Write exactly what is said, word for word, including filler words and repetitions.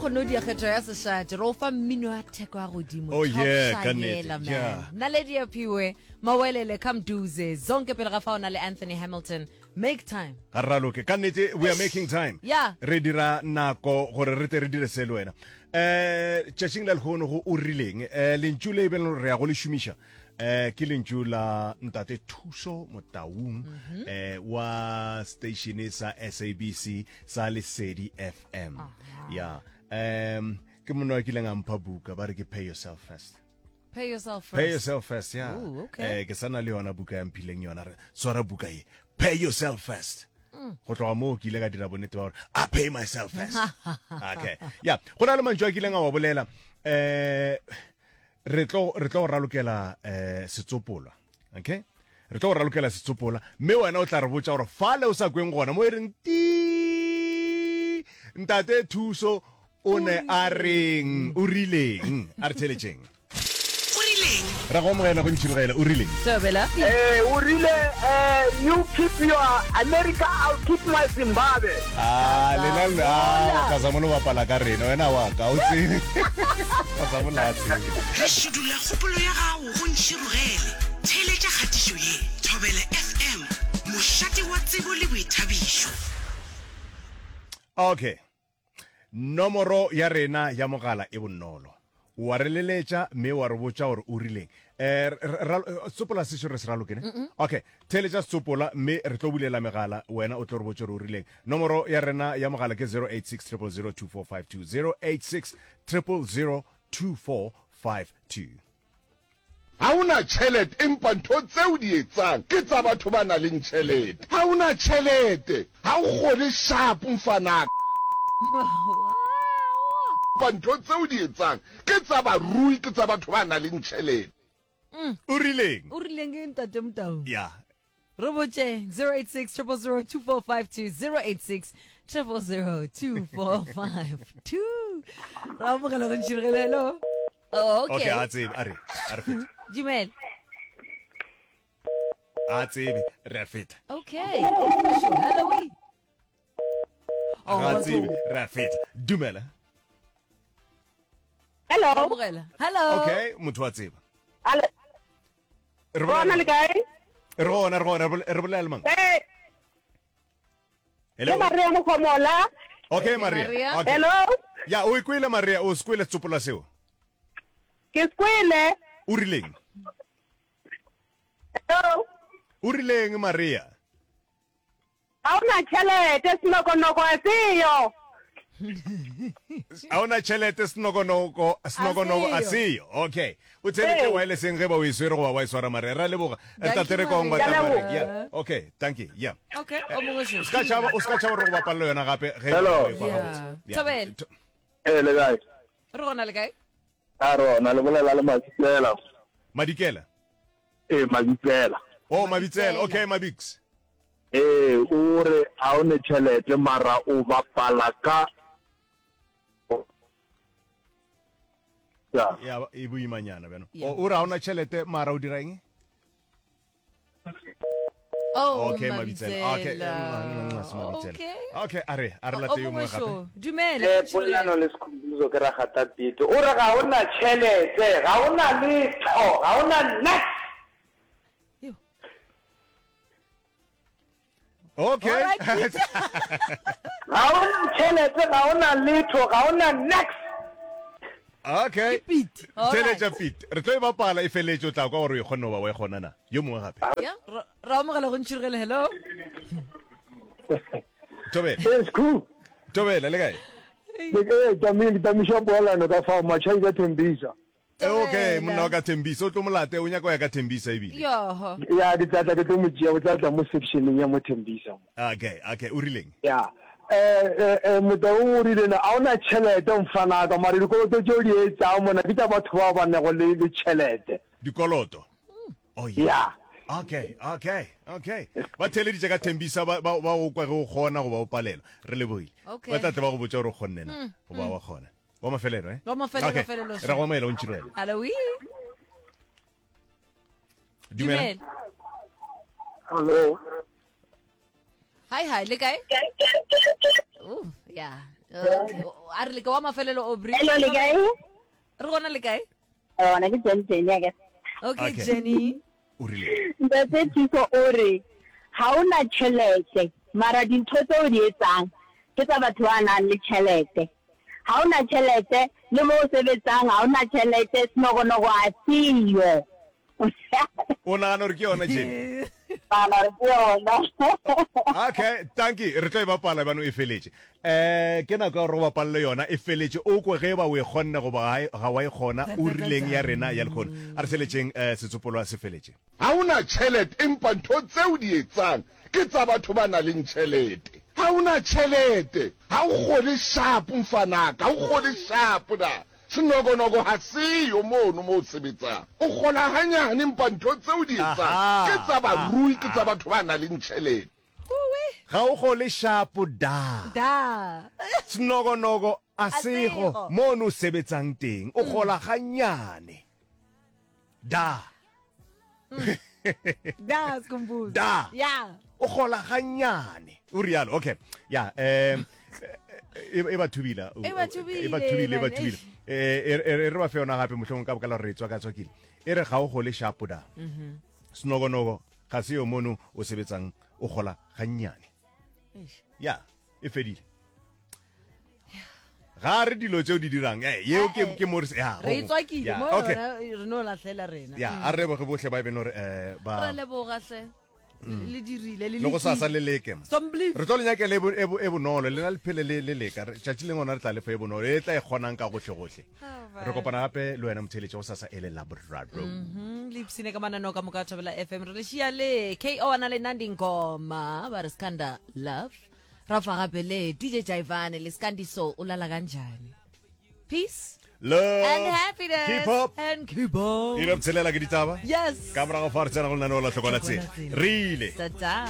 kgone go dia kgetho ya sešate re o fa mmino wa theko ya godimo. Oh, Top yeah, ka nnete, Shayela, man. yeah. Naledi ya Phiwe, Mawelele Kamduze, zonke pele ga fa o na le Anthony Hamilton. Make time. Ga re raloke ka nnete, we are making time. Yeah. Re dira nako gore re tle re dire se le wena. Um tšatšing la lehono go o rileng, um lentšu le e beng re ya go le šomiša um ke lentšu la ntate Thuso Motaung, um wa station sa S A B C sa Lesedi F M. Ya, um ke monna wa kileng a mpha buka, ba re ke Pay Yourself First. Pay Yourself First. Pay Yourself First, ya. Ooh, okay. Eh, ke sa na le yona buka ya mphileng yona, re swara buka ye, Pay Yourself First. Go tloga moo ke ile ka dira bonnete ba gore I pay myself first. Okay, ya, go na le mantšu a kileng a wa bolela. um re tlo re tlo go ralokela um setsopola. Okay, re tlo go ralokela setsopola, mme wena o tla re botša gore fale o sa kweng gona mo e reng ti ntate Thuso o ne a reng, o rileng. A re theletšeng. O rileng? Ra go amogela go Ntšhirogela, o rileng? Thobela. Eh, o rile eh, "You keep your America, I'll keep my Zimbabwe." Ah, lena le ah, Kazamola o bapala ka rena, wena wa ka o tsebe. Kazamola a tsebe. Re šudula kgopolo ya gago go Ntšhirogele. Theeletša kgatišo ye. Thobela F M, mošate wa tsebo le boithabišo. Okay. Nomoro ya rena ya mogala e bonolo. Wa re leletša mme wa re botša gore o rileng. Eh, tsopola sešo re se raloke ne? Okay, theeletša setsopola mme re tlo bulela megala, wena o tlo re botša gore o rileng. Nomoro ya rena ya mogala ke zero eight six zero zero two four five two, zero eight six zero zero two four five two. Ha o na tšhelete, empa ntho tseo di etsang ke tsa batho ba nang le tšhelete. Ha o na tšhelete, ha o kgone sharp, mfanaka. Empa ntho tseo di etsang ke tsa barui, ke tsa batho ba nang le tšhelete. O rileng? O rileng ke ntate Motau? Ya. Re botše zero eight six zero zero two four five two, zero eight six zero zero two four five two. Ra amogela go Ntšhirogele, hello. Oh, okay. Okay. A tsebe, a re a re feta. Dumela. A tsebe, re a feta. Okay, hello, we. Oh, Ga tsebe, re a feta. Dumela. Hello. Amogela, hello. Okay, motho wa tseba. Hello. Re Bona bolela le kae? Re gona, re gona, re bole- re bolela le mang? Eh, Hello. ke Maria Mokhomola. Okay, Maria. Maria. Okay. Hello. Ya, o ikwele Maria, o se kwele setsopola seo? Ke skwele. O rileng? Hello. O rileng, Maria? Ha ona tšhelete, senokonoko a seyo. A ona tšhelete, senokonoko, senokonoko a seyo. Seyo. Okay, o theletše Ee. wirelesseng ge ba o e swere goba wa e swara. Maria, re a leboga. Thank tate you, re kong Maria. ba Ke a leboga. Yeah, okay, thank you, yeah. Okay, o mongwe šo. O ska tšhaba, o ska tšhaba gore go bapalla yona gape ge Hello. o e kwa Yeah. gabotse. Yeah. Thobela. Tho- Eh, le kae? Re gona, le kae? A rona, le bolela le Mabitsela. Madikela. Eh, Mabitsela. Oh, Mabitsela. Mabitsela. Okay, Mabix. Eh, o re ha o ne tšhelete mara o bapala ka ya. Ya, e boimanyana bjano. Yeah. O o re ha ona tšhelete mara o dira eng? Oh, Okay, Mabitsela. Okay, Mabitsela. mm, mm, se Mabitsela. Okay. Okay, a re a re O late yo mongwe mongwe gape. šo. Dumela. Eh, polelano le Sekhumbuzo, ke ragata pete. O re ga o na tšhelete, ga o na letho, ga o na niks. Yo. Okay. All right, Pete. Ga o na tšhelete, ga o na letho, ga o na niks. Okay. Pete. All right. Theletša, Pete. Re tlo e bapala e feletše, o tla kwa gore o e kgonne goba wa e kgona na. Yo mongwe gape. Yeah, ra ra amogela go Ntšhirogele, hello. Thobela. Yes, cool. Thobela, le kae? Eh, tamile tamiša poelano ka fao matšhai ka Thembisa. Eh, okay, Thobela. Monna wa ka Thembisa, o tlo molate, o nyaka go ya ka Thembisa ebile. Yoho. Ya, ke tlatla ke tlo mo tšea, o tlatla mo sectioneng ya mo Thembisa mo. Okay, okay, o rileng? Ya. Eh eh eh Motaung o rile na a ona tšhelete mfanaka, mara dikoloto tšeo di etsang mona ke tša batho bao ba nego le le tšhelete. Dikoloto. Oh yeah. Ya. Okay, okay, okay. Ba theeleditše ka Thembisa, ba ba ba o kwa ge o kgona goba o palelwa. Re lebogile. Okay. Ba tla tle ba go botša gore o kgonne na goba wa kgona. Wa mafelelo, eh? Wa mafelelo, Okay. felelo, Re go amogela o Ntšhirogele. Hello, we. Dumela. Dumela. Hello. Hi, hi, le kae? Oh, yeah. Okay. A re leke wa mafelelo Aubrey. Hello, le kae? Re gona le kae? Gona ke Jenny Jenny a ke. Okay, Okay. Jenny. O rile. Ntate Thuso o re ha o na tjhelete mara dintho tse o di etsang ke tsa batho ba nang le tjhelete. Ha o na tjhelete le mo o sebetsang ha o na tjhelete senokonoko a seyo. O nagana gore ke yona Jenny? Nagana gore ke yona. Okay, thank you. Re tlo e bapala bano e feletše. Eh ke nako ya gore o bapalele yona e feletše o kwe ge ba o e kgonne goba ga e- ga wa e kgona o rileng ya rena ya lekgono. A re theletšeng eh setsopolwa se feletše. Ha o na tjhelete empa ntho tse o di etsang ke tsa batho ba nang le tjhelete. Ha o na tjhelete ha o kgole sharp mfanaka, ha o kgole sharp na. Senokonoko ha seyo mono mo o sebetsang. O kgola hanyane empa ntho tse o di etsang ke tsa barui, ke tsa batho ba nang le tjhelete. Ga o kgole shapo da. Da. Senokonoko a sego mono o sebetsang teng. O kgola ganyane. Da. Da, Skhumbuzo. Da. Yeah. O kgola ganyane. O rialo. Okay. Yeah, um e e ba thubile. E ba thubile, E ba thubile, e ba man. thubile. Eh e e re ba fe yona gape mohlomong ka baka la gore re tswaka tswakile. E re ga o gole shapo da. Mhm. Senokonoko ga se yo mono o sebetsang o kgola gannyane. Ya, e fedile. Ga re dilo tseo di dirang. Eh yeo ke ke mo re ya. Re e tswakile Ya, mo okay. yona re no lahlela rena. Ya, a re leboge bohle ba e beng gore eh ba Re leboga hle. Le dirile le le go sasa le leke. Somblief. Re tlo le nyakela e bo- e bo- e bonolo le na le phele le le leka Re- tšatši lengwe gona re tla lefa e bonolo e tla e kgonang ka gohle gohle. Re kopana gape le wena motheeletši go sasa e le Laboraro. Mhm, le ipsine ka mananeo ka moka a Thobela F M re le šia le K O a na le Nandi Ngoma ba re Skanda Love ra fa gape le D J Jaivane le Skandiso o lala kanjani. Peace Love and happiness Keep up. and keep on. Ile botshelela ke ditaba. Yes. Ka morago fa re tsena go lenaneo la Hlokola Tsela. Re ile. Ta-ta.